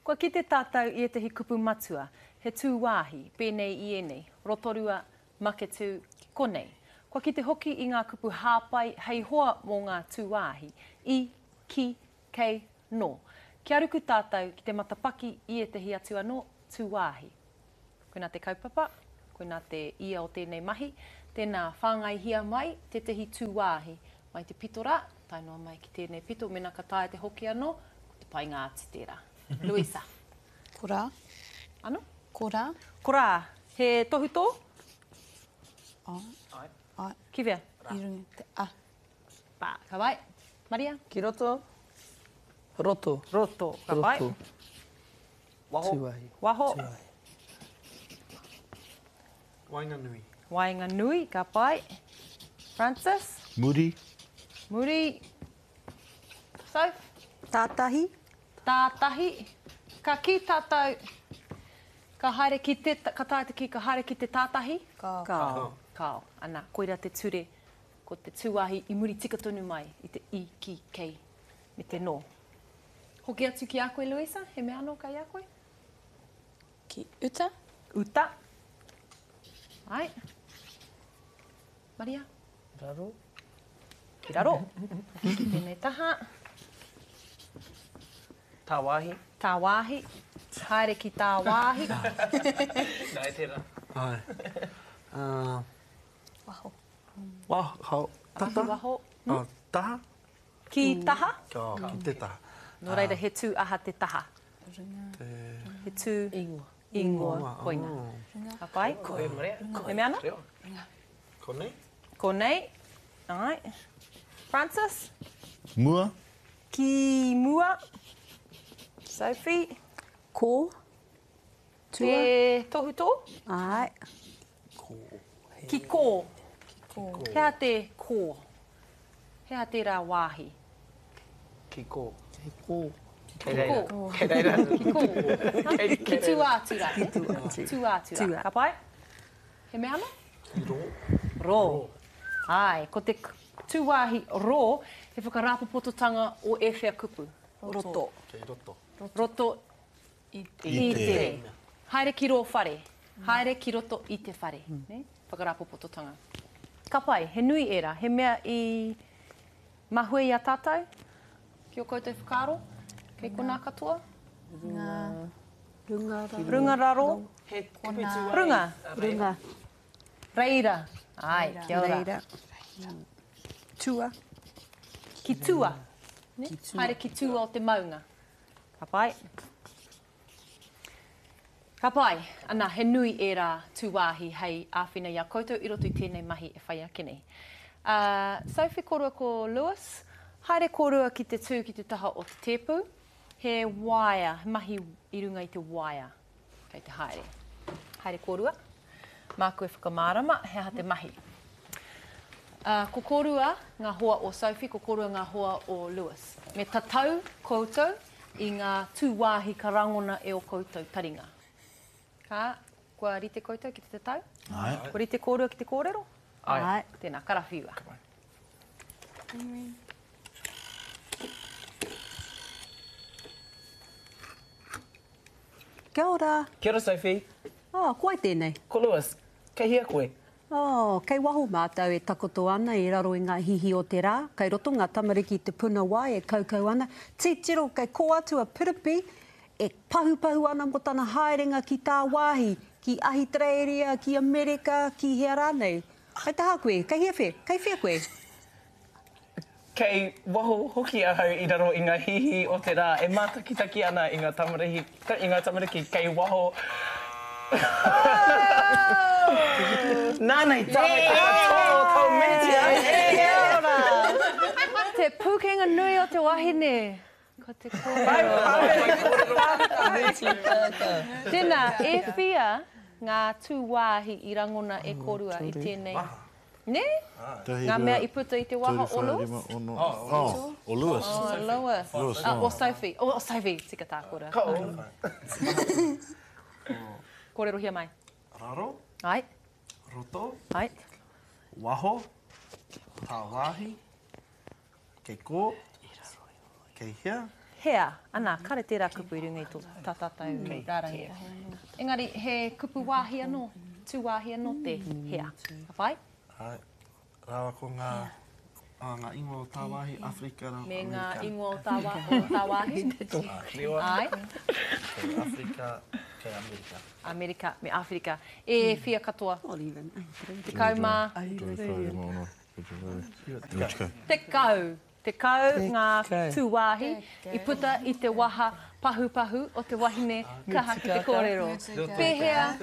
Kua kite tātou i ētahi kupu matua, he tūwāhi, pēnei i ēnei, Rotorua, Maketū, konei. Kua kite hoki i ngā kupu hāpai hei hoa mō ngā tūwāhi, i, ki, kei, nō. Kia ruku tātou ki te matapaki i ētahi atu anō tūwāhi. Koinā te kaupapa, koinā te ia o tēnei mahi. Tēnā, whāngaihia mai tētahi tūwāhi mai te pito rā, tae noa mai ki tēnei pito, mēnā ka taea te hoki anō, ko te painga atu tērā. Luisa. Ko rā. Ano? Ko rā. Ko rā. He tohutō? Āe. Āe. Ki whea? I runga te a. Pā, ka pai. Maria? Ki roto. Roto. Roto, ka pai. Roto. Waho. Tuahi. Waho. Tuahi. Waenganui. Waenganui, ka pai. Francis? Muri. Muri. Soph? Tātahi. Tātahi. Ka kī tātou, ka haere ki te, ka taea te kī, ka haere ki te tātahi? Kāo. Kāo. Kāo. Ana, koira te ture, ko te tūāhi i muri tika tonu mai i te i, ki, kei, me te nō. Hoki atu ki a koe, Louisa, he mea anō kei a koe? Ki uta. Uta. Ai. Maria? Raro. Ki raro. Ki tēnei taha. Tāwāhi. Tāwāhi. Haere ki tāwāhi. Nā, e tērā. Ai. Uh, waho. Waho. Tata. Waho. Hmm? Oh, taha. Ki taha? Oh, ki te taha. Nō reira, he tū aha te taha? Runga. Te... He tū... Ingoa. Ingoa. Koina. Runga. Ka pai? Koe, Maria. He mea ana? Runga. Konei? Konei. Ai. Francis? Mua. Ki mua. Sophie? Ko. Tua. Te tohutō? Āe. Kō. Ki kō. Ki kō. He aha te kō? He aha tērā wāhi? Ki kō. Ki kō. Kei reira. Kei reira. Ki kō. Ki tua atu rā. Ki tua atu. Tua atu rā. Ka pai? He mea anō? Ki rō. Rō. Āe, ko te tūwāhi rō, he whakarāpopototanga o ēwhea kupu? Roto. Kei roto. Roto I te. I te. Haere ki rō whare. Haere ki roto i te whare. Nē? Whakarāpopototanga. Ka pai, he nui ērā. He mea i mahue i a tātou? Ki ō koutou whakaaro? Kei konā katoa? Runga. Runga raro. Runga raro. He kupu tūāi. Runga. Runga. Reira. Āe, kia ora. Reira. Tua. Ki tua. Nē? Haere ki tua o te maunga. Ka pai. Ka pai. Ana, he nui ērā tūwāhi hei āwhina i a koutou i roto i tēnei mahi e whai ake nei. Uh, Sophie kōrua ko Lewis, haere kōrua ki te tū ki te taha o te tēpu. He waea, he mahi i runga i te waea kei te haere. Haere kōrua. Māku e whakamārama he aha te mahi. Ā, ko kōrua ngā hoa o Sophie, ko kōrua ngā hoa o Lewis. Me tatau koutou i ngā tūwāhi ka rangona e ō koutou taringa. Ka, kua rite koutou ki te tatau? Āe. Kua rite kōrua ki te kōrero? Āe. Tēnā, karawhiua. Ka pai. Kia ora. Kia ora Sophie. Oh, ko wai tēnei? Ko Lewis. Kei hea koe? Oh, kei waho mātou e takoto ana i raro i ngā hihi o te rā. Kei roto ngā tamariki i te puna wai e kaukau ana. Titiro, kei kō atu a Piripi e pahupahu ana mō tana haerenga ki tāwāhi, ki Ahitereiria, ki Amerika, ki hea rānei. Kei taha koe, kei hea whea, kei whea koe? Kei waho hoki ahau i raro i ngā hihi o te rā e mātakitaki ana i ngā tamariki, i ngā tamariki kei waho. Nāna i tāwai te katoa o tō miniti ai. Kia ora! Te pūkenga nui o te wahine, ko te kōrero. Tēnā, e whia ngā tūwāhi i rangona e kōrua i tēnei? Nē? Ngā mea i puta i te waha o Lewis? Oh, o Lewis. O Lewis. Lewis, oh. O Sophie. O Sophie, tika tā kōrero. Ka ō. Kōrerohia mai. Raro. Ai. Roto. Ai. Waho. Tāwāhi. Kei kō. Kei hea. Hea, ana, kare tērā kupu i runga i tō tā tātou rārangi. Engari, he kupu wāhi anō, tū wāhi anō te hea. Ka pai? Āe. Rāua ko ngā, ngā ingoa o tāwāhi, Āwherika rāua ko Me ngā Amerika. ingoa o tāwā, o tāwāhi. Āe. Kei Āwherika, kei Amerika. Amerika me Āwherika. E whia katoa? 10. 10. 10 ngā tūwāhi i puta i te waha pahupahu o te wahine kaha ki te kōrero. Pēhea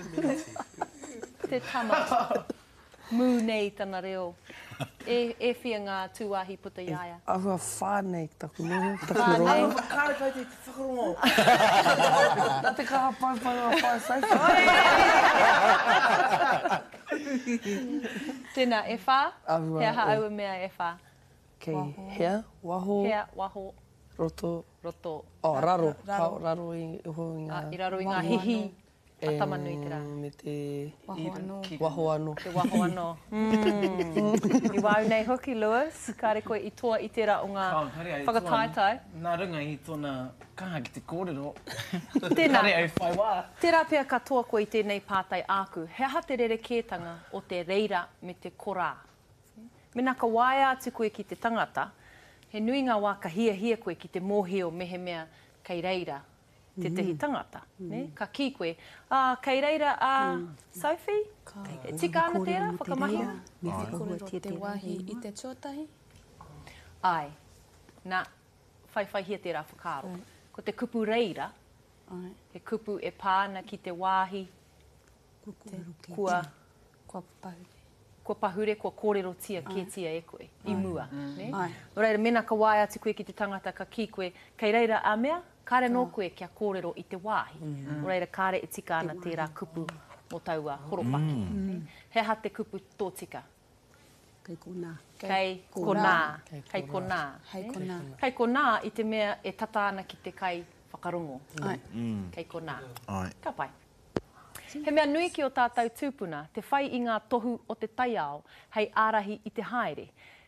te tama mū nei tana reo? E, e whia ngā tūwāhi puta i a ia? Āhua whā nei taku noho, taku Whā rongo. nei. Kāre kau te whakarongo. Nā te kaha paupau a Whaea Sophie. Tēnā, e whā? Āhua, He aha e. aua mea e whā? Kei hea, waho. Hea, waho. Roto. Roto. Oh, raro. Raro. Raro i iho i ngā. I raro i ngā hihi a Tama-nui-te-rā. Me te. Waho anō. Waho anō. Te waho anō. Mm. I wāu nei hoki, Lewis, kāre koe i toa i tērā o ngā whakataetae. Nā runga i tōna kaha ki te kōrero. Tēnā. Kāre au whai wā. Tērā pea ka toa koe i tēnei pātai āku, he aha te rerekētanga o te reira me te korā? Mēnā ka waea atu koe ki te tangata, he nui ngā wā ka hiahia koe ki te mōhio mehemea kei reira tētehi tangata, nē? Ka kī koe, ā, kei reira a Sophie? E tika ana tērā whakamahinga? Me whakakōrero te wāhi i te tuatahi? Āe. Nā, whaiwhaihia tērā whakaaro. Ko te kupu reira, he kupu e pā ana ki te wāhi kua. Kua pahure. Kua pahure, kua kōrerotia kētia e koe i mua. Nē? Nō reira, mēnā ka waea atu koe ki te tangata ka kī koe, kei reira a mea, kāre anō koe kia kōrero i te wāhi. Nō reira, kāre e tika ana tērā kupu mō taua horopaki. Nē? He aha te kupu tōtika? Kei konā. Kei konā. Kei konā. Hei konā. Kei konā i te mea e tata ana ki te kai whakarongo. Kei konā. Ka pai. He mea nui ki ō tātou tūpuna te whai i ngā tohu o te taiao hei ārahi i te haere.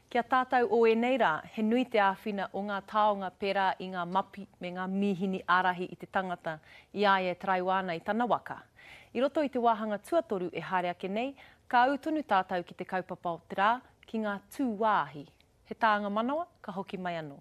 Ki a tātou o ēnei rā, he nui te āwhina o ngā taonga pērā i ngā mapi me ngā mīhini ārahi i te tangata i a ia e taraiwa ana i tana waka. I roto i te wāhanga tuatoru e haere ake nei, ka ū tonu tātou ki te kaupapa o te rā, ki ngā tūwāhi. He tānga manawa, ka hoki mai anō.